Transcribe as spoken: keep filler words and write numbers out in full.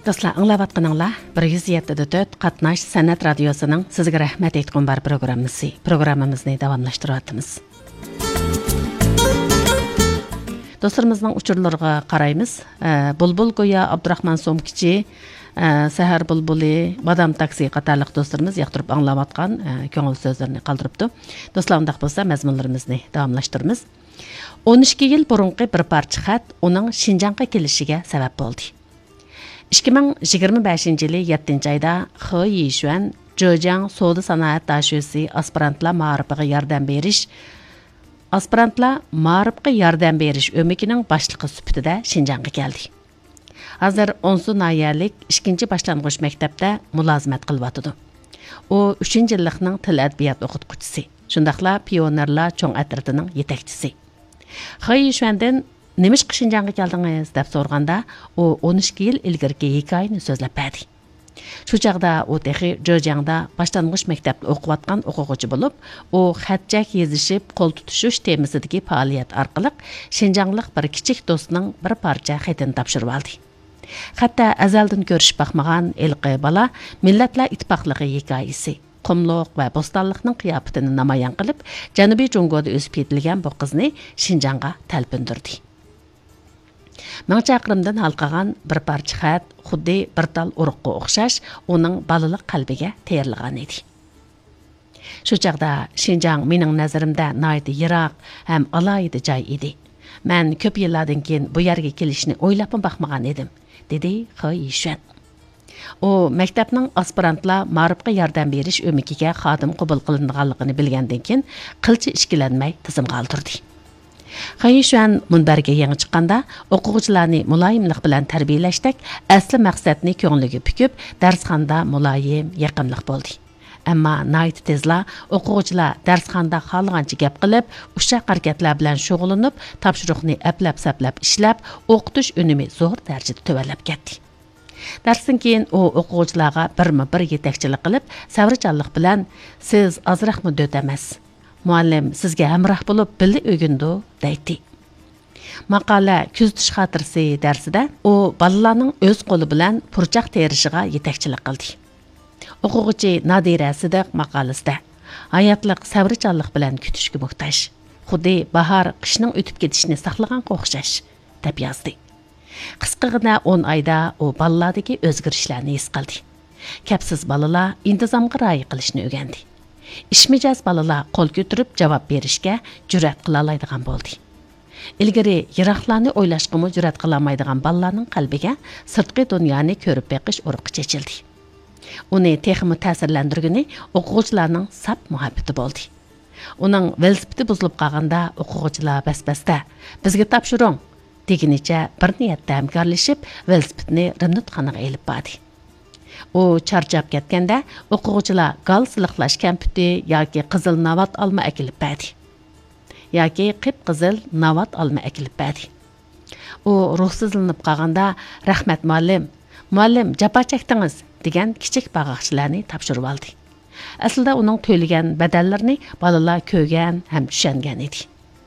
دوستلار، ئاڭلاۋاتقىنىڭلار بىر يۈز يەتتە دە تۆت قاتناش سەنئەت رادىيوسىنىڭ سىزگە رەھمەت ئېيتقۇم بار پروگراممىسى. پروگراممىمىزنى داۋاملاشتۇرۇۋاتىمىز. دوستلىرىمىزنىڭ ئۇچۇرلىرىغا قارايمىز. ئە، بۇلبۇل گويا، ئابدۇراخمان سومكىچى، ئە، سەھەر بۇلبۇلى، بادام تاكسى قاتارلىق دوستلىرىمىز ياقتۇرۇپ ئاڭلاۋاتقان، ئە، كۆڭۈل سۆزلىرىنى قالدۇرۇپتۇ. دوستلار، ئۇنداق بولسا مەزمۇنلىرىمىزنى داۋاملاشتۇرىمىز. ئون ئىككى يىل بۇرۇنقى بىر پارچە خەت ئۇنىڭ شىنجاڭغا كېلىشىگە سەۋەب بولدى. ئىككى مىڭ يىگىرمە بەشىنچى يىلى يەتتىنچى ئايدا خې يىشۈەن جېجياڭ سودا سانائەت داشۆسى ئاسپىرانتلار مائارىپىغا ياردەم بېرىش، ئاسپىرانتلار مائارىپقا ياردەم بېرىش ئۆمىكىنىڭ باشلىقى سۈپىتىدە شىنجاڭغا كەلدى. ھازىر ئونسۇ ناھىيەلىك ئىككىنچى باشلانغۇچ مەكتەپتە مۇلازىمەت قىلىۋاتىدۇ. ئۇ ئۈچىنچى يىللىقنىڭ تىل ئەدەبىيات ئوقۇتقۇچىسى، شۇنداقلا پىيونېرلار چوڭ ئەترىتىنىڭ يېتەكچىسى. خې يىشۈەندىن «نېمىشقا شىنجاڭغا كەلدىڭىز؟» دەپ سورىغاندا، ئۇ ئون ئىككى يىل ئىلگىرىكى ھېكايىنى سۆزلەپ بەردى. شۇ چاغدا ئۇ تېخى جېجياڭدا باشلانغۇچ مەكتەپتە ئوقۇۋاتقان ئوقۇغۇچى بولۇپ، ئۇ خەت-چەك يېزىشىپ، قول تۇتۇشۇش تېمىسىدىكى پائالىيەت ئارقىلىق شىنجاڭلىق بىر كىچىك دوستىنىڭ بىر پارچە خېتىنى تاپشۇرۇۋالدى. خەتتە ئەزەلدىن كۆرۈشۈپ باقمىغان ھېلىقى بالا مىللەتلەر ئىتتىپاقلىقى ھېكايىسى، قۇملۇق ۋە بوستانلىقنىڭ قىياپىتىنى نامايان قىلىپ، جەنۇبىي جۇڭگودا ئۆسۈپ يېتىلگەن بۇ قىزنى شىنجاڭغا تەلپۈندۈردى. مىڭ چاقىرىمدىن ھالقىغان بىر پارچە خەت خۇددى بىر تال ئۇرۇققا ئوخشاش ئۇنىڭ بالىلىق قەلبىگە تېرىلغان ئىدى. شۇ چاغدا شىنجاڭ مېنىڭ نەزىرىمدە ناھايىتى يىراق ھەم ئالاھىدە جاي ئىدى. مەن كۆپ يىللاردىن كېيىن بۇ يەرگە كېلىشنى ئويلاپمۇ باقمىغان ئىدىم، دېدى خې يىشۈەن. ئۇ مەكتەپنىڭ ئاسپىرانتلار مائارىپقا ياردەم بېرىش ئۆمىكىگە خادىم قوبۇل قىلىنىدىغانلىقىنى بىلگەندىن كېيىن، قىلچە ئىككىلەنمەي تىزىمغا ئالدۇردى. خې يىشۈەن مۇنبەرگە يېڭى چىققاندا، ئوقۇغۇچىلارنى مۇلايىملىق بىلەن تەربىيەلەشتەك ئەسلى مەقسەتنى كۆڭلىگە پۈكۈپ، دەرسخانىدا مۇلايىم، يېقىملىق بولدى. ئەمما ناھايىتى تېزلا ئوقۇغۇچىلار دەرسخانىدا خالىغانچە گەپ قىلىپ، ئۇششاق ھەرىكەتلەر بىلەن شۇغۇللىنىپ، تاپشۇرۇقنى ئەپلەپ-سەپلەپ ئىشلەپ، ئوقۇتۇش ئۈنۈمى زور دەرىجىدە تۆۋەنلەپ كەتتى. دەرستىن كېيىن ئۇ ئوقۇغۇچىلارغا بىرمۇ بىر يېتەكچىلىك قىلىپ، سەۋرچانلىق بىلەن، «سىز ئازراقمۇ دۆت ئەمەس. مۇئەللىم سىزگە ھەمراھ بولۇپ، بىللە ئۆگىنىدۇ» دەيتتى. ماقالە «كۆزىتىش خاتىرىسى» دەرسىدە ئۇ بالىلارنىڭ ئۆز قولى بىلەن پۇرچاق تېرىشىغا يېتەكچىلىك قىلدى. ئوقۇغۇچى نادىرە سىدىق ماقالىسىدە، «ھاياتلىق سەۋرچانلىق بىلەن كۈتۈشكە موھتاج. خۇددى باھار قىشنىڭ ئۆتۈپ كېتىشىنى ساقلىغانغا ئوخشاش» دەپ يازدى. قىسقىغىنە ئون ئايدا ئۇ بالىلاردىكى ئۆزگىرىشلەرنى ھېس قىلدى. كەپسىز بالىلار ئىنتىزامغا رىئايە قىلىشنى ئۆگەندى. ئىشمىجەز بالىلار قول كۆتۈرۈپ جاۋاب بېرىشكە جۈرئەت قىلالايدىغان بولدى. ئىلگىرى يىراقلارنى ئويلاشقىمۇ جۈرئەت قىلالمايدىغان بالىلارنىڭ قەلبىگە سىرتقى دۇنيانى كۆرۈپ بېقىش ئۇرۇقى چېچىلدى. ئۇنى تېخىمۇ تەسىرلەندۈرگىنى ئوقۇغۇچىلارنىڭ ساپ مۇھەببىتى بولدى. ئۇنىڭ ۋېلىسىپىتى بۇزۇلۇپ قالغاندا، ئوقۇغۇچىلار بەس-بەستە، «بىزگە تاپشۇرۇڭ» دېگىنىچە بىر نىيەتتە ھەمكارلىشىپ، ۋېلىسىپىتنى رېمونتخانىغا ئېلىپ باردى. ئۇ چارچاپ كەتكەندە، ئوقۇغۇچىلار گال سىلىقلاش كەمپۈتى ياكى قىزىل ناۋات ئالما ئەكېلىپ بەردى. ياكى قىپقىزىل ناۋات ئالما ئەكېلىپ بەردى. ئۇ روھسىزلىنىپ قالغاندا، «رەھمەت، مۇئەللىم! مۇئەللىم، جاپا چەكتىڭىز!» دېگەن كىچىك باغاقچىلارنى تاپشۇرۇۋالدى. ئەسلىدە ئۇنىڭ تۆلىگەن بەدەللىرىنى بالىلار كۆرگەن ھەم چۈشەنگەن ئىدى.